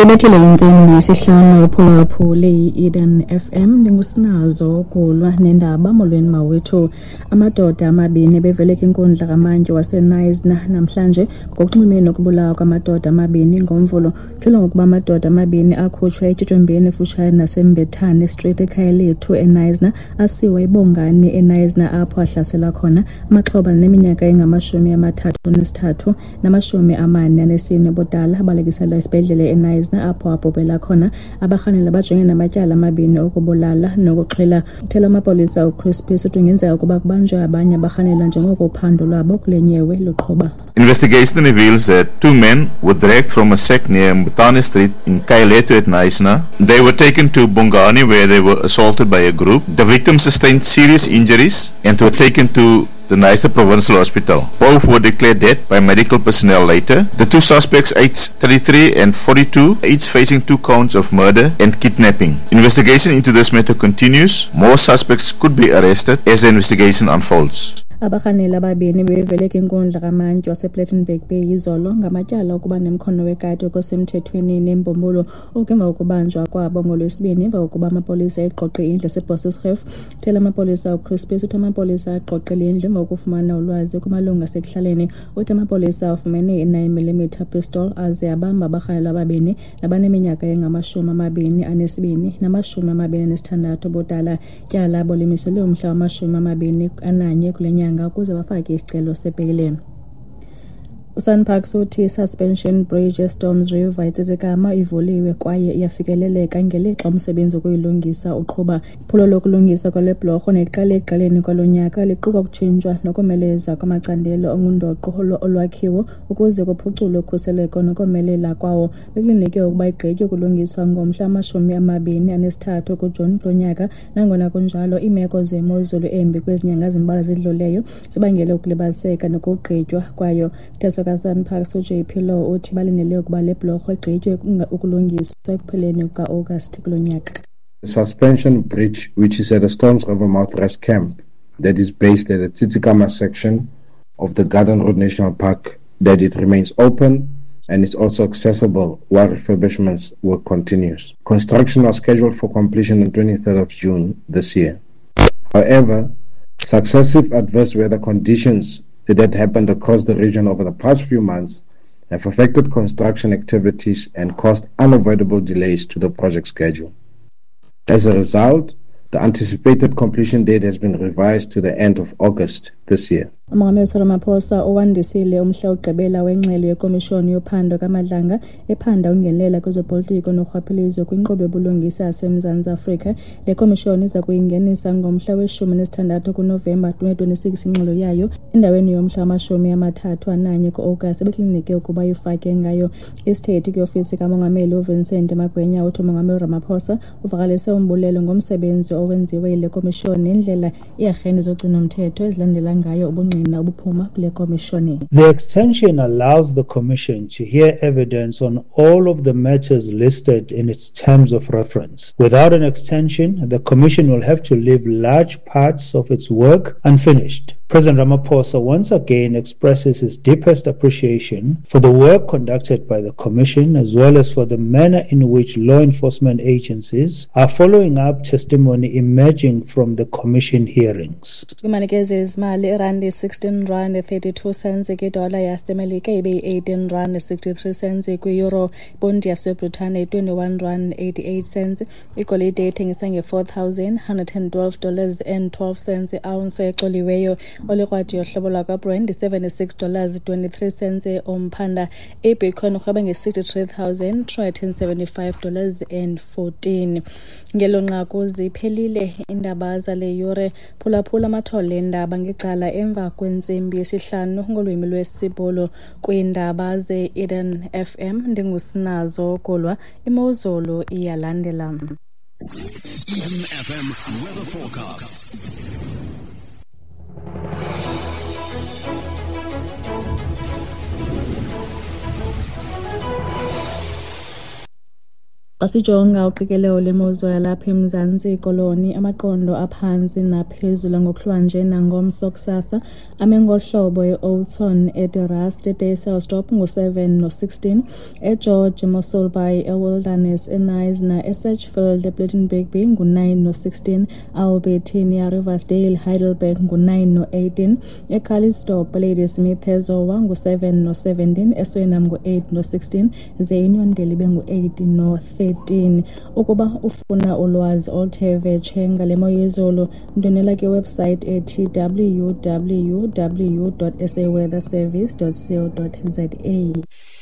Ibethile intsimbi yesihlanu uphulaphule i-Eden FM. Ndingusinazo Gulwa nendaba. Molweni mawethu. Amadoda amabini ebevele kwinkundla kamantyi waseKnysna namhlanje ngokunxulumene nokubulawa kwamadoda amabini ngoMvulo. Kutyholwa ngokuba amadoda amabini akhutshwa etyotyombeni kufutshane naseMbethane Street eKhayalethu eKnysna asiwa eBongani eKnysna apho ahlaselwa khona. Amaxhoba aneminyaka engama-33 nama-44 ubudala abalekiselwa esibhedlele eKnysna apho abhubhela khona. Abarhanelwa bajongene namatyala amabini okubulala nokuxhwila. Uthela amapolisa uChris Peace uthi kungenzeka ukuba kubanjwe abanye abarhanelwa njengoko uphando lwabo kule nyewe luqhuba. Investigation reveals that two men were dragged from a shack near Mbutane Street in Khayalethu at Knysna. They were taken to Bongani where they were assaulted by a group. The victims sustained serious injuries and were taken to the Knysna Provincial Hospital. Both were declared dead by medical personnel later. The two suspects, aged 33 and 42, each facing 2 counts of murder and kidnapping. Investigation into this matter continues. More suspects could be arrested as the investigation unfolds. Abarhaneli ababini bevele kwinkundla kamantyi wasePlettenberg Bay izolo ngamatyala okuba nemkhono wekati okusemthethweni nembumbulu oku emva kokubanjwa kwabo ngoLwesibini emva kokuba amapolisa egqogqe indlu yaseBosjesgrief. Uthela amapolisa uChris Peace uthi amapolisa agqogqe le ndlu emva kokufumana ulwazi kumalungu asekuhlaleni. Uthi amapolisa afumene i-9mm pistol aze abamba abarhanelwa ababini nabaneminyaka engama-22 nama-26 ubudala. Ityala labo limiselwe umhla wama-21 kule nyanga ukuze bafake isicelo sebheyile. USANParks uthi i-Suspension Bridge eStorms River eTsitsikamma ivuliwe kwaye iyafikeleleka ngelixa umsebenzi wokuyilungisa uqhuba. Iphulo lokulungiswa kwale bhlorho neliqale ekuqaleni kwalo nyaka liquka ukutshintshwa nokomelezwa kwamacandelo angundoqo olwakhiwo ukuze kuphuculwe ukhuseleko nokomelela kwawo. Bekulindeleke ukuba igqitywe ukulungiswa ngomhla wama-23 kuJuni kulo nyaka. Nangona kunjalo, iimeko zemozulu embi kwezi nyanga zimbalwa zidluleyo zibangele ukulibaziseka nokugqitywa kwayo. Isithethi SANParks uJP Law uthi balindele ukuba le bhlorho igqitywe ukulungiswa ekupheleni kuka-Agasti kulo nyaka. The suspension bridge, which is at the Storms River Mouth Rest Camp, that is based at the Tsitsikamma section of the Garden Route National Park, that it remains open and is also accessible while refurbishments work continues. Construction was scheduled for completion on 23rd of June this year. However, successive adverse weather conditions that happened across the region over the past few months have affected construction activities and caused unavoidable delays to the project schedule. As a result, the anticipated completion date has been revised to the end of August this year. Umongameli Cyril Ramaphosa uwandisile umhla wokugqibela wengxelo yekomishoni yophando kaMadlanga ephanda ukungenelela kwezopolitiko norhwaphilizo kwinkqubo yobulungisa yaseMzantsi Afrika. Le komishoni iza kuyingenisa ngomhla we-16 kuNovemba 2026 ingxelo yayo endaweni yomhla wama-31 ku-Agasti ebekulindeleke ukuba ifake ngayo. Isithethi kwiofisi kamongameli uVincent Magwenya uthi umongameli Ramaphosa uvakalise umbulelo ngomsebenzi owenziwe yile komishoni nendlela iiarhente zogcino-mthetho ezilandela ngayo ubungqina obuphuma kule komishoni. The extension allows the Commission to hear evidence on all of the matters listed in its terms of reference. Without an extension, the Commission will have to leave large parts of its work unfinished. President Ramaphosa once again expresses his deepest appreciation for the work conducted by the Commission, as well as for the manner in which law enforcement agencies are following up testimony emerging from the Commission hearings. Kwiimali ke zezimali, irandi 16 rand 32 cents kwidola yaseMelika, ibe yi-18 rand 63 cents kwi-euro. Iponti yaseBritane yi-21 rand 88 cents. Igolide ithengisa nge-$4,112 dollars and 12 cents i-ounce ecoliweyo. Olikrwadi yohlobo lwakwaBrand yi-76 dollars 23 cents umphanda. IBitcoin irhweba nge-$63,375 dollars and 14. Ngelo nqaku ziphelile iindaba zale yure. Phulaphula amathole eendaba ngecala emva kwentsimbi yesihlanu ngolwimi lwesiBhulu kwiindaba ze-Eden FM. Ndingusinazo Gulwa. Imozulu iyalandela. Eden FM weather forecast. Xa sijonga uqikelelo lwemozulu yalapha eMzantsi Koloni, amaqondo aphantsi naphezulu ngokuhlwanje nangomso kusasa ame ngohlobo: eOudtshoorn, eDe Rust, eDysselsdorp ngu-7 no-16, eGeorge, eMossel Bay, eWilderness, eKnysna, eSedgefield, ePlettenberg Bay ngu-9 no-16, Albertinia, Riversdale, Heidelberg ngu-9 no-18, eCalitzdorp, Ladysmith, eZowa ngu-7 no-17, eSuriname ngu-8 no-16, ze iUniondale ibe ngu-8 no-13. Ukuba ufuna ulwazi oluthe vetshe ngale mo yezulu, ndwendwela kwiwebhusayithi ethi www.saweatherservice.co.za.